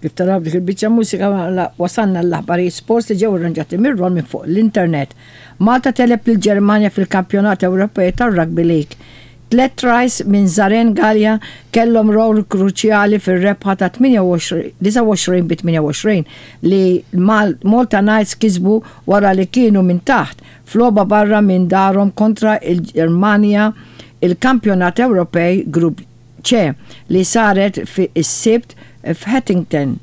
Kif taraw dik il-biċċa mużika wasalna l-aħbarijiet sports li ġew irranġati mir-Ron minn fuq l-internet. Malta tegħleb lill-Ġermanja fil-Kampjonat Ewropej tar-Rugby League. Tlett tries minn Zaren Galea kellhom rol kruċjali fir-rebħa ta' 29 bi 28 li Malta Knights kisbu wara li kienu minn taħt f'logħba barra minn darhom kontra l-Ġermanja il-Kampjonat Ewropej Grupp C li saret is-Sibt f'Haddington.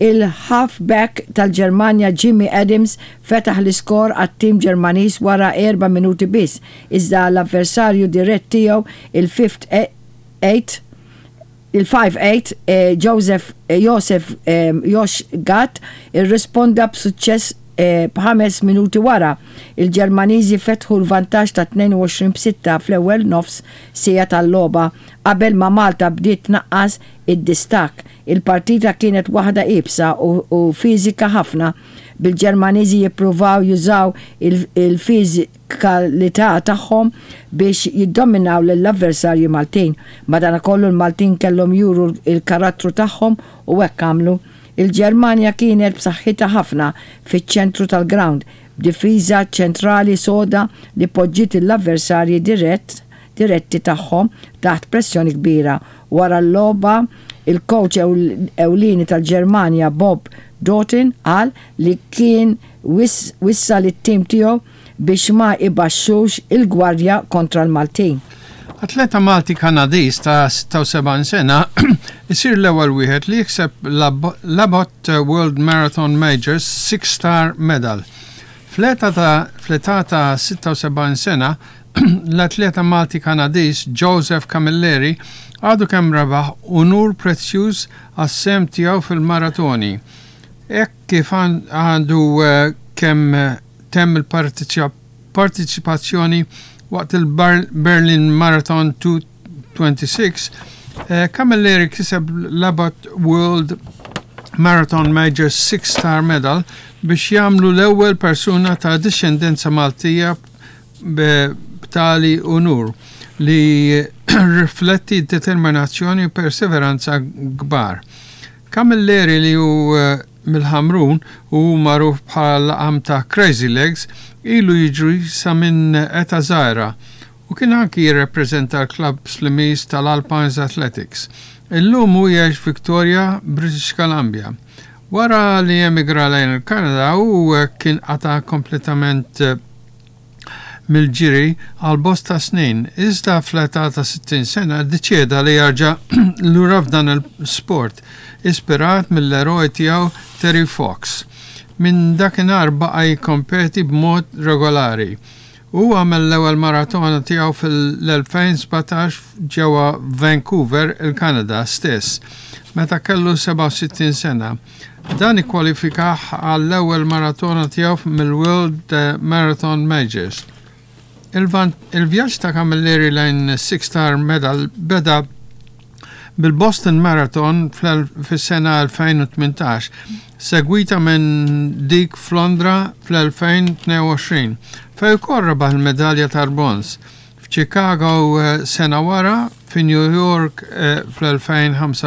Il-half-back tal-Ġermanja Jimmy Adams fetaħ l-iskor għat-tim Ġermaniż wara erba' minuti biss, iżda l-avversarju dirett tiegħu il-fifth eight il-five-eight Joseph Josef Josh Gatt irrisponda b'suċċess b'ħames minuti wara. Il-Ġermaniżi fetħu l-vantaġġ ta' 22 b' sitta fl-ewwel nofs siegħa tal-logħba qabel ma Malta bdiet tnaqqas id-distakk. Il-partita kienet waħda iebsa u fiżika ħafna, bil-Ġermaniżi jippruvaw jużaw il-fiżikalità tagħhom biex jiddominaw lill-avversarji Maltin. Madankollu l-Maltin kellhom juru l-karattru tagħhom u hekk għamlu. Il-Ġermanja kienet b'saħħitha ħafna fiċ-ċentru tal-grawnd, b'difiża ċentrali soda li poġġiet l-avversarji dirett diretti tagħhom taħt pressjoni kbira. Wara l-logħba, il-coach ewlieni tal-Ġermanja Bob Doughton qal li kien wissa lit-tim tiegħu biex ma ibaxxux il-gwardja kontra l-Maltin. Atleta Malti Kanadiż ta' 76 sena isir l-ewwel wieħed li jikseb l-Abbott World Marathon Majors Six Star Medal. Fl-età ta' 76 sena, l-atleta Malti Kanadiż Joseph Camilleri għadu kemm rebaħ unur prezzjuż għas-sehem tiegħu fil-maratoni. Hekk kif għandu kemm temm il-partiċipazzjoni waqt il-Berlin Marathon 226, Camilleri kiseb l-Abbott World Marathon Major Six Star Medal biex jagħmlu l-ewwel persuna ta' dixxendenza Maltija b'tali unur li rifletti determinazzjoni u perseveranza kbar. Camilleri, li hu mill-Ħamrun u hu magħruf bħala l-laqam ta' Crazy Legs, ilu jiġri sa minn età żgħira u kien anki jirrepreżenta l-klabb Slimiż tal-Alpines Athletics. Illum hu jgħix Victoria, British Columbia. Wara li emigra lejn il-Kanada, hu kien qata' kompletament mill-ġiri għal bosta snin, iżda fl-età ta' 60 sena ddeċieda li jerġa' lura f'dan il-sport, ispirat mill-eroj tiegħu Terry Fox. Minn dakinhar baqa' jikkompeti b'mod regolari. Hu għamel l-ewwel maratona tiegħu fil-2017 ġewwa Vancouver, il-Kanada stess, meta kellu 67 sena. Dan ikkwalifikah għall-ewwel maratona tiegħu mill-World Marathon Majors. Il-vjaġġ ta' Camilleri lejn Six Star Medal beda bil-Boston Marathon fis-sena 2018, segwita minn dik f'Londra fl-2022, fejn ukoll rebaħ il-medalja tal-bronż. F'Chicago sena wara, fi New York fl-2025.